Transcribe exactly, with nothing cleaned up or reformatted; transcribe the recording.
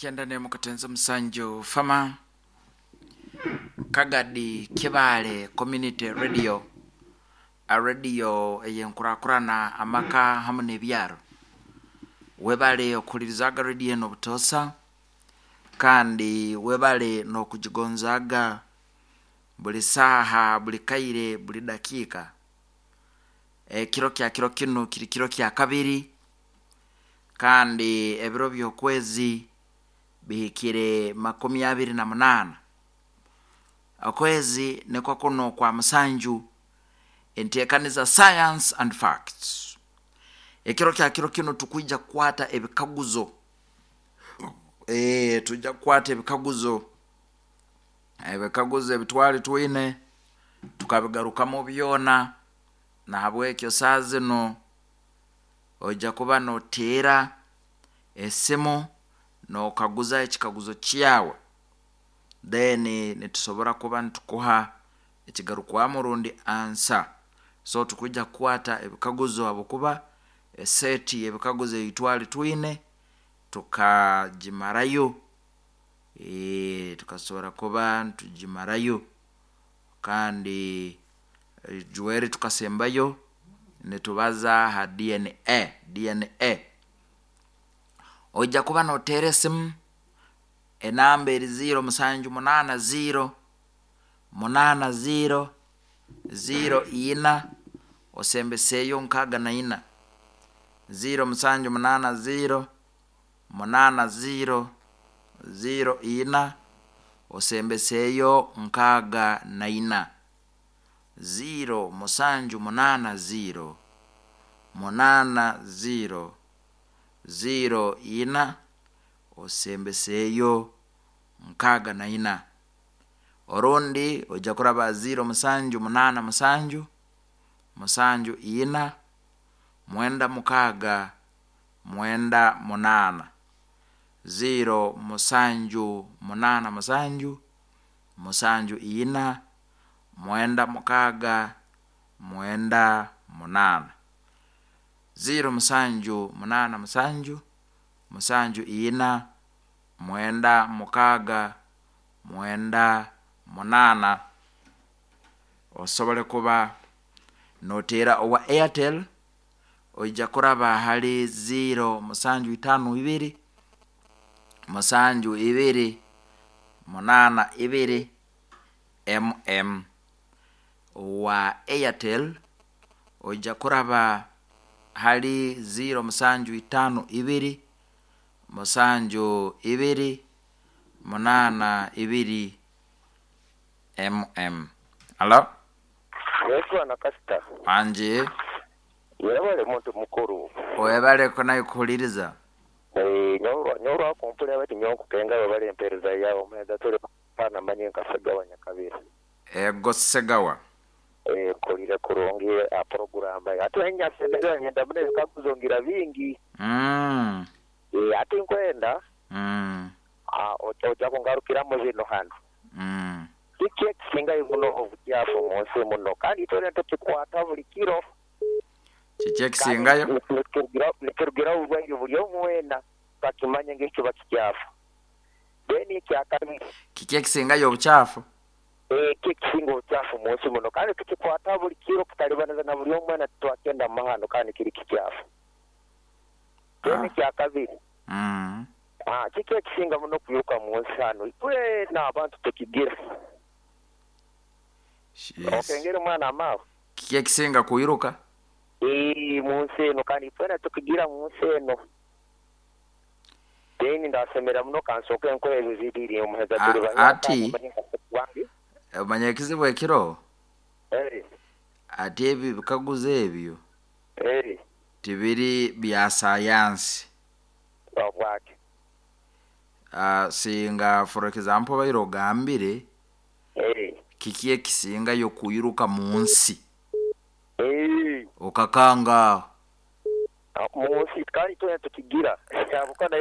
Kyenda nemu katenze musanju fama Kagadi Kibale Community Radio, a radio eyenkurakurana amaka hamu n'ebyaro. Webale okuhulirizaga radio eno obutosa, kandi webale n'okugigonzaga buli saaha, buli kaire, buli dakiika. Ekiro kya kiro kinu kiri kiro kya kabiri, kandi ebiro by'okwezi bihikire makumi abiri na munaana. Okwezi nikwo kuno kwa musanju, enteekaniza Science and Facts. Ekiro kya kiro kinu tukwija kukwata ebikaguzo, e, tujja kukwata ebikaguzo ebikaguzo ebitwali twine tukabigarukamu byona. Nahabwekyo saa zino ojja kuba noteera esimu nokaguza ekikaguzo kyawe, then nitusobora kuba nitukuha ekigarukwamu rundi answer. So tukwija kukwata ebikaguzo habwokuba eseti y'ebikaguzo eyitwali twine tukagimarayo, e, tukasobora kuba nitugimarayo, kandi jweri tukasembayo nitubaza ha D N A. D N A, ojja kuba noteera esimu, enamba eri ziro musanju munaana ziro munaana ziro ziro ina osembeseeyo nkaaga na ina, ziro musanju munaana ziro munaana ziro ziro ina osembeseeyo nkaaga na ina, ziro musanju munaana ziro munaana ziro ziro ina osembeseeyo nkaaga na ina. Orundi ojja kuraba ziro musanju munaana musanju musanju ina mwenda mukaaga mwenda munaana, ziro musanju munaana musanju musanju ina mwenda mukaaga mwenda munaana, ziro musanju munaana musanju musanju ina mwenda mukaaga mwenda munaana. Osobole kuba noteera owa Airtel, oija kuraba hali ziro musanju itaano ibiri musanju ibiri munaana ibiri mm. Owa Airtel oija kuraba hali ziro musanju itaano ibiri musanju ibiri munaana ibiri mm. Halo. Yetwana kasita. Anje. Yebale muntu mukuru. Webaleko naye kuhuliriza. Eh, nyorwa kumpulira bati nyokukenga bale empereza yawo meza tuli pana manye nka Nyakabira. Ego Segawa. Eh, kolire kurungi a program ate enya sendera nyenda mune bikakuzongira bingi. Mm. Eh, ate nkwenda. Mm. Ah, oja kungarukira mu bino hano. Mm. Kiki ekisinga muno obukyafu mu nsi muno, kandi itwena tukikwata buli kiro. Kiki ekisingayo? Nikirugira obubwaire buli omwena bakimanye ng'ekiba kikyafu. Then ekyakabiri, Kiki ekisingayo obukyafu? Eh, kikisinga obukyafu mu nsi muno, kandi tukikwata buli kiro kutalibaniza na buli omwena twakenda mahano, kandi kiri kikyafu. Then Ah. ekyakabiri, Mm. ah, kiki ekisinga muno kwiruka mu nsi hano, itwena abantu tukigira? Yes. Okengera omwana amaawe. Kiki ekisinga kwiruka? Ee, mu nsi eno, kandi itwena tukigira mu nsi eno. Then ndasemera muno kansooke nkora ebyo bibiri omuheza A- tuli ati wange. Omanya ekizibu ekiro, Eh, ati ebyo ebikaguzo ebyo eh, tibiri bya sayansi. Obwake. uh, singa for example baire ogambire Eh, kiki ekisingayo kwiruka mu nsi, eh, okakanga. Mu nsi, kandi twena tukigira. Kyabuka nayo.